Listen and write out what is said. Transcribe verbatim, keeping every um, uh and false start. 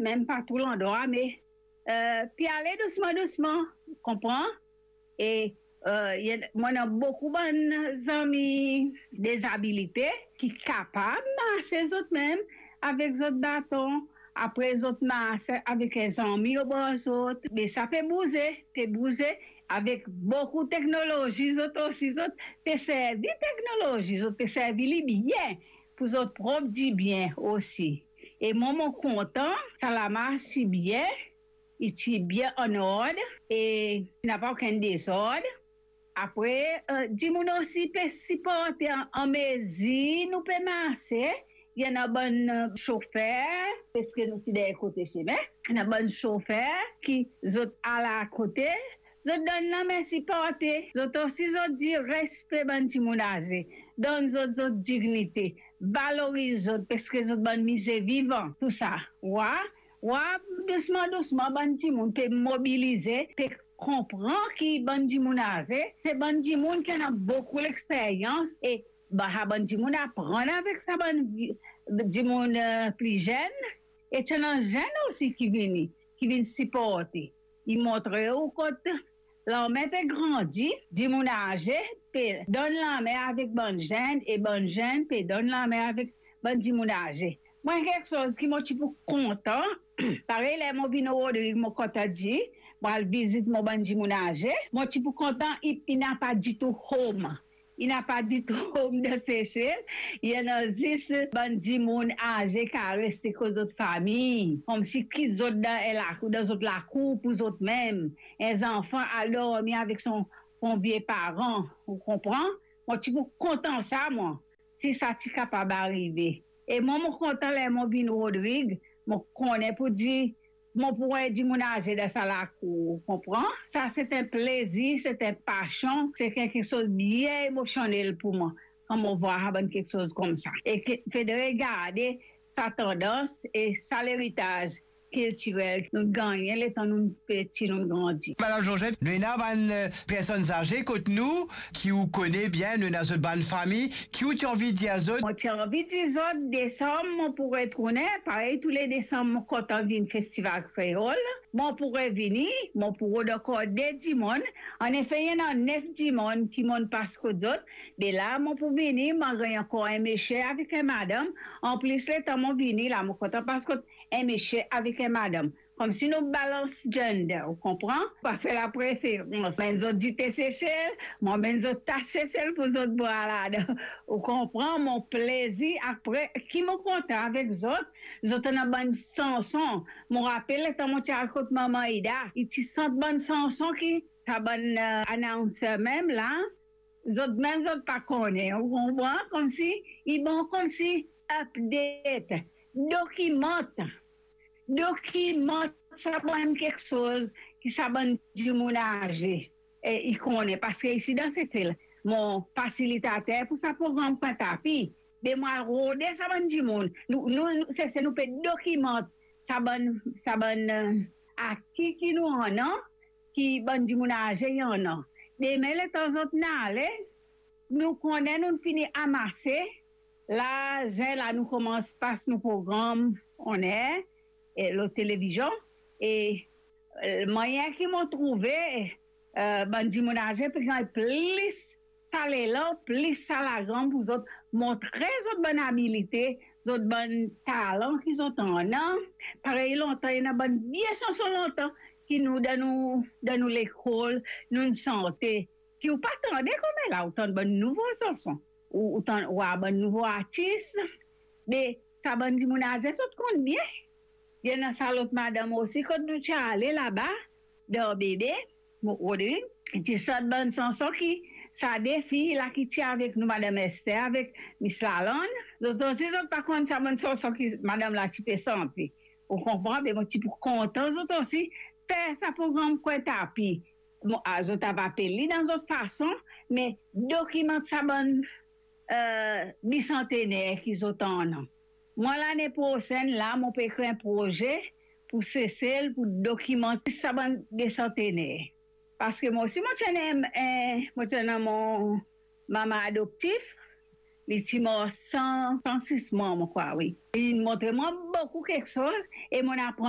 mem pa tou landrwa, me, eh, pe ale dousman, dousman, konpran? E, eh, mo ena boukou bann zami dezabilite ki kapav marse zot mem avek zot baton. Apre zot marse avek enn zami obor zot, me sa pe bouze, pe bouze avek boukou teknolozi. Zot osi, zot pe servi teknolozi, zot pe servi li bien pou zot prop dibien osi. E mwa, mo kontan, sa la mars ti bien, li ti bien an ord, e napa okenn dezord. Apre, eh, dimoun osi pe siporte an, an mezir nou pe marse. Ena bann, eh, sofer, paski nou ti deryer kote sime, ena bann sofer ki zot al akote, zot donn lame siporte. Zot osi, zot dir respe bann dimoun aze, donn zot zot dignite, valoriz zot, paski zot bann mize vivan, tou sa. Wa, wa, dousman, dousman, bann dimoun pe mobilize, pe konpran ki bann dimoun aze, se bann dimoun ki ena boukou lexperyans, e ba, sa bann dimoun aprann avek sa bann vi-, dimoun, eh, pli zenn, e ti ena zenn osi ki vini, ki vinn siporte. Li montre ou kot lame pe grandi, dimoun aze pe donn lame avek bann zenn, e bann zenn pe donn lame avek bann dimoun aze. Mwa, kiksoz ki mo ti pou kontan, parey ler mo vinn Rodrig, mo kontan dir, mo al vizit mo bann dimoun aze, mo ti pou kontan, li, li napa ditou hom. Li napa ditou hom dan Sesel. Li ena zis bann dimoun aze ki al reste kot zot fami, koumsi ki zot dan enn lakour, dan zot lakour pou zot mem. Enn zanfan al dormi avek son, son vie paran, ou konpran? Mo ti pou kontan sa, mwa, si sa ti kapav arive. E mwa, mo kontan ler mo vinn Rodrig, mo kone pou dir mo pou enn dimoun aze dan sa lakour, ou konpran? Sa se enn plezir, se enn pasion, se kiksoz bien emosionel pou mwa, kan mo vwar sa bann kiksoz koumsa. E ki fode garde sa tandans e sa leritaz kiltirel nou gagne letan nou peti, nou grandi. Madam Georgette, nou ena bann, eh, personn aze kot nou ki ou kone bien, nou ena zot bann fami, ki ou ti anvi dir zot? Mo ti anvi dir zot, desam mo pou retourne, parey tou le desam mo kontan vinn Festival Kreol. Mo pou revini, mo pou rod ankor de dimoun. Anefe, ena nef dimoun ki mo'nn pas kot zot. De la, mo pou vini, mo gagn ankor enn misie avek enn madam. Anplis, letan mo vini la, mo kontan pas kot enn misie avek enn madam. Koumsi nou balans gender, ou konpran? Pa fer lapreferans. Mem zot dite Sesel, mo amenn zot tas Sesel pou zot bwar ladan. Ou konpran? Mo plezir, apre, ki mo kontan avek zot, zot ena bann sanson. Mo rapel letan mo ti al kot Mama Ida, li ti sant bann sanson ki sa bann, eh, announcer mem la, zot mem zot pa kone, ou konpran? Koumsi, li bon koumsi update, dokimant, dokimant sa bann kiksoz ki sa bann dimoun aze, eh, li kone, paski isi dan Sesel, mo fasilitater pou sa program Kwin Tapi, be mo al rode sa bann dimoun. Nou, nou, nou, Sesel, nou pe dokimant sa bann, sa bann, eh, aki ki nou ena, ki bann dimoun aze ena. Demin, letan zot ena ale, nou kone nou fini amase, la, zen la, nou koumans pas nou program on-air, eh, lor televizion, e, eh, mwayin ki mo trouve, eh, bann dimoun aze pe gagn plis sa lelan, plis sa lagram pou zot montre zot bann abilite, zot bann talan ki zot ena. Parey lontan, ena bann vie sanson lontan ki nou, dan nou, dan nou lekol, nou sante, ki ou pa tande kouma la, ou tann bann nouvo sanson, ou, ou tann, ou war bann nouvo artis, me sa bann dimoun aze zot konn bien. Ena sa lot madam osi, kot nou ti ale laba, dan Bebe, mo, Rodrig, ti sant bann sanson ki sa de fi la ki ti avek nou, Madam Esther avek Miss Lalande, zot osi zot pa konn sa bann sanson ki madam la ti pe sante. Ou konpran? Be mo ti pou kontan zot osi fer sa program Kwin Tapi. Mo, a, zot ava apel li dan zot fason, me dokimant sa bann, eh, bisantener ki zot ena. Mwa, lane prosenn la, mo pe kre enn proze pou Sesel, pou dokimant sa bann bisantener. Paski mo osi, mo ti ena, eh, mo ti ena mo mama adoptif, li ti mor san, san sis mwa, mo krwar, wi. Li montre mwa boukou kiksoz, e mo aprann